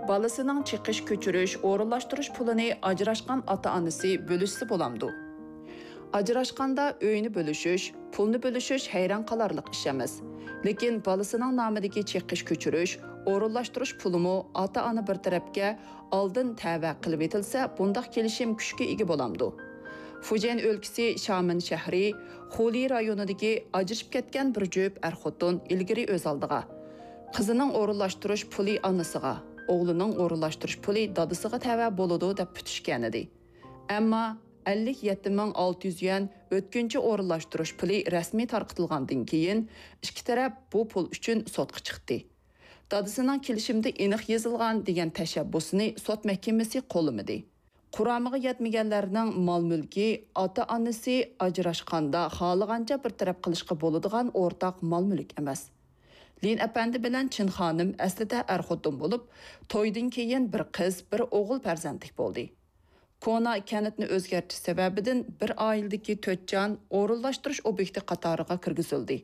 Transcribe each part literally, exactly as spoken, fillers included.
بالىسىنىڭ چېقىش كۆچۈرۈش، ئورۇنلاشتۇرۇش پۇلىنى ئاجراشقان ئاتا-ئانىسى بۆلۈشسە بولامدۇ؟ ئاجراشقاندا ئۆينى بۆلۈشۈش، پۇلنى بۆلۈشۈش ھەيران قالارلىق ئىش ئەمەس. لېكىن بالىسىنىڭ نامىدىكى چېقىش كۆچۈرۈش، ئورۇنلاشتۇرۇش پۇلىمۇ ئاتا-ئانا بىر تەرەپكە ئالدىن تەۋە قىلىۋېتىلسە، بۇنداق كېلىشىم كۈچكە ئىگە بولامدۇ؟ فۇجيەن ئۆلكىسى شامېن شەھىرى خۇلى رايونىدىكى ئاجرىشىپ كەتكەن بىر جۈپ ئەر-خوتۇن ئىلگىرى ئۆز ئالدىغا، قىزىنىڭ ئورۇنلاشتۇرۇش پۇلى ئانىسىغا، ئوغلىنىڭ ئورۇنلاشتۇرۇش پۇلى دادىسىغا تەۋە بولىدۇ دەپ پۈتۈشكەنىدى. ئەمما ئەللىك يەتتە مىڭ ئالتە يۈز يۈەن ئۆتكۈنچى ئورۇنلاشتۇرۇش پۇلى رەسمىي تارقىتىلغاندىن كېيىن، ئىككى تەرەپ بۇ پۇل ئۈچۈن سوتقا چىقتى. دادىسىنىڭ كېلىشىمدە ئېنىق يېزىلغان دېگەن تەشەببۇسىنى سوت مەھكىمىسى قوللىمىدى. قۇرامىغا يەتمىگەنلەرنىڭ مال-مۈلكى ئاتا-ئانىسى ئاجراشقاندا خالىغانچە بىر تەرەپ قىلىشقا بولىدىغان ئورتاق مال-مۈلۈك ئەمەس. لىن ئەپەندى بىلەن چىن خانىم ئەسلىدە ئەر-خوتۇن بولۇپ، تويدىن كېيىن بىر قىز، بىر ئوغۇل پەرزەنتلىك بولدى. كونا كەنتنى ئۆزگەرتىش سەۋەبىدىن بىر ئائىلىدىكى تۆت جان ئورۇنلاشتۇرۇش ئوبيېكتى قاتارىغا كىرگۈزۈلدى.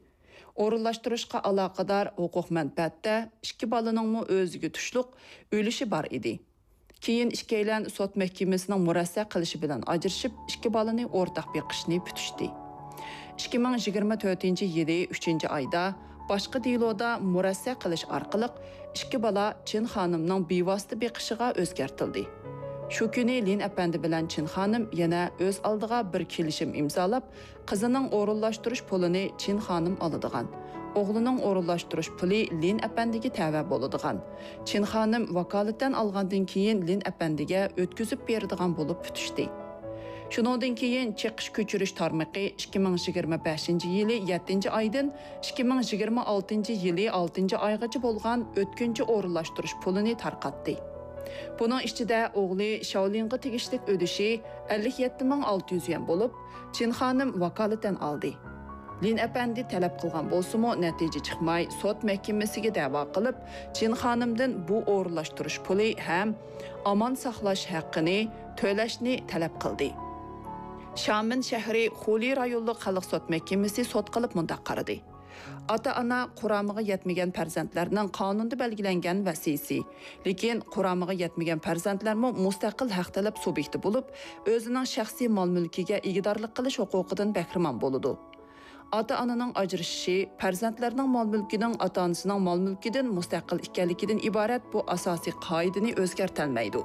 ئورۇنلاشتۇرۇشقا ئالاقىدار ھوقۇق مەنپەئەتتە ئىككى بالىنىڭمۇ ئۆزىگە تۇشلۇق ئۈلۈشى بار ئىدى. كېيىن ئىككىيلەن سوت مەھكىمىسىنىڭ مۇرەسسە قىلىشى بىلەن ئاجرىشىپ، ئىككى بالىنى ئورتاق بېقىشنى پۈتۈشتى. ئىككى مىڭ يىگىرمە تۆتىنچى يىلى ئۈچىنچى ئايدا باشقا دېلودا مۇرەسسە قىلىش ئارقىلىق ئىككى بالا چىن خانىمنىڭ بىۋاسىتە بېقىشىغا ئۆزگەرتىلدى. شۇ كۈنى لىن ئەپەندى بىلەن چىن خانىم يەنە ئۆز ئالدىغا بىر كېلىشىم ئىمزالاپ، قىزىنىڭ ئورۇنلاشتۇرۇش پۇلىنى چىن خانىم ئالىدىغان، ئوغلىنىڭ ئورۇنلاشتۇرۇش پۇلى لىن ئەپەندىگە تەۋە بولىدىغان، چىن خانىم ۋاكالىتەن ئالغاندىن كېيىن لىن ئەپەندىگە ئۆتكۈزۈپ بېرىدىغان بولۇپ پۈتۈشتى. شۇنىڭدىن كېيىن چېقىش كۆچۈرۈش تارمىقى ئىككى مىڭ يىگىرمە بەشىنچى يىلى يەتتىنچى ئايدىن ئىككى مىڭ يىگىرمە ئالتىنچى يىلى ئالتىنچى ئايغىچە بولغان ئۆتكۈنچى ئورۇنلاشتۇرۇش پۇلىنى تارقاتتى. بۇنىڭ ئىچىدە ئوغلى شاۋلىنغا تېگىشلىك ئۈلۈشى ئەللىك يەتتە مىڭ ئالتە يۈز يۈەن بولۇپ، چىن خانىم ۋاكالىتەن ئالدى. لىن ئەپەندى تەلەپ قىلغان بولسىمۇ، نەتىجە چىقماي، سوت مەھكىمىسىگە دەۋا قىلىپ، چىن خانىمدىن بۇ ئورۇنلاشتۇرۇش پۇلى ھەم ئامان ساقلاش ھەققىنى تۆلەشنى تەلەپ قىلدى. شامېن شەھىرى خۇلى رايونلۇق خەلق سوت مەھكىمىسى سوت قىلىپ مۇنداق قارىدى: ئاتا-ئانا قۇرامىغا يەتمىگەن پەرزەنتلەرنىڭ قانۇندا بەلگىلەنگەن ۋەسىيىسى، لېكىن قۇرامىغا يەتمىگەن پەرزەنتلەرمۇ مۇستەقىل ھەق تەلەپ سۇبيېكتى بولۇپ، ئۆزىنىڭ شەخسىي مال-مۈلكىگە ئىگىدارلىق قىلىش ھوقۇقىدىن بەھرىمەن بولىدۇ. ئاتا-ئانىنىڭ ئاجرىشىشى پەرزەنتلەرنىڭ مال-مۈلكىنىڭ ئاتا-ئانىسىنىڭ مال-مۈلكىدىن مۇستەقىل ئىكەنلىكىدىن ئىبارەت بۇ ئاساسىي قائىدىنى ئۆزگەرتەلمەيدۇ.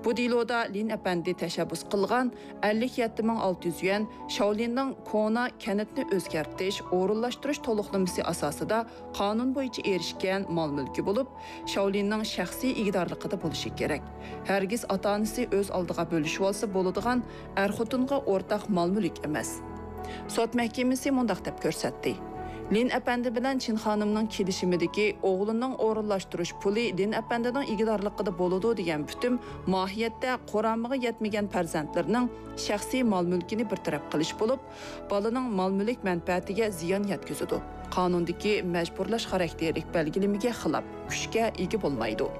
بۇ دېلودا لىن ئەپەندى تەشەببۇس قىلغان ئەللىك يەتتە مىڭ ئالتە يۈز يۈەن شاۋلىننىڭ كونا كەنتنى ئۆزگەرتىش، ئورۇنلاشتۇرۇش تولۇقلىمىسى ئاساسىدا قانۇن بويىچە ئېرىشكەن مال-مۈلكى بولۇپ، شاۋلىننىڭ شەخسىي ئىگىدارلىقىدا بولۇشى كېرەك. ھەرگىز ئاتا-ئانىسى ئۆز ئالدىغا بۆلۈشۈۋالسا بولىدىغان ئەر-خوتۇنغا ئورتاق مال-مۈلۈك ئەمەس. سوت مەھكىمىسى مۇنداق دەپ كۆرسەتتى: لىن ئەپەندى بىلەن چىن خانىمنىڭ كېلىشىمىدىكى ئوغلىنىڭ ئورۇنلاشتۇرۇش پۇلى لىن ئەپەندىنىڭ ئىگىدارلىقىدا بولىدۇ دېگەن پۈتۈم ماھىيەتتە قۇرامىغا يەتمىگەن پەرزەنتلىرىنىڭ شەخسىي مال-مۈلكىنى بىر تەرەپ قىلىش بولۇپ، بالىنىڭ مال-مۈلۈك مەنپەئەتىگە زىيان يەتكۈزىدۇ. قانۇندىكى مەجبۇرلاش خاراكتېرلىك بەلگىلىمىگە خىلاپ، كۈچكە ئىگە بولمايدۇ.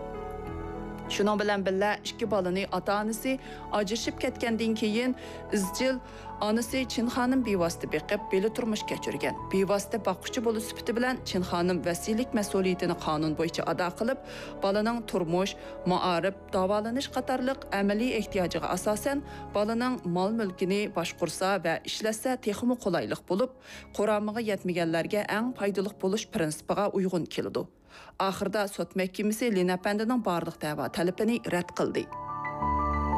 شۇنىڭ بىلەن بىللە، ئىككى بالىنى ئاتا-ئانىسى ئاجرىشىپ كەتكەندىن كېيىن ئىزچىل ئانىسى چىن خانىم بىۋاسىتە بېقىپ، بىللە تۇرمۇش كەچۈرگەن. بىۋاسىتە باققۇچى بولۇش سۈپىتى بىلەن چىن خانىم ۋەسىيلىك مەسئۇلىيىتىنى قانۇن بويىچە ئادا قىلىپ، بالىنىڭ تۇرمۇش، مائارىپ، داۋالىنىش قاتارلىق ئەمەلىي ئېھتىياجىغا ئاساسەن، بالىنىڭ مال-مۈلكىنى باشقۇرسا ۋە ئىشلەتسە تېخىمۇ قولايلىق بولۇپ، قۇرامىغا يەتمىگەنلەرگە ئەڭ پايدىلىق بولۇش پىرىنسىپىغا ئۇيغۇن كېلىدۇ. ئاخىرىدا سوت مەھكىمىسى لىن ئەپەندىنىڭ بارلىق دەۋا تەلىپىنى رەت قىلدى.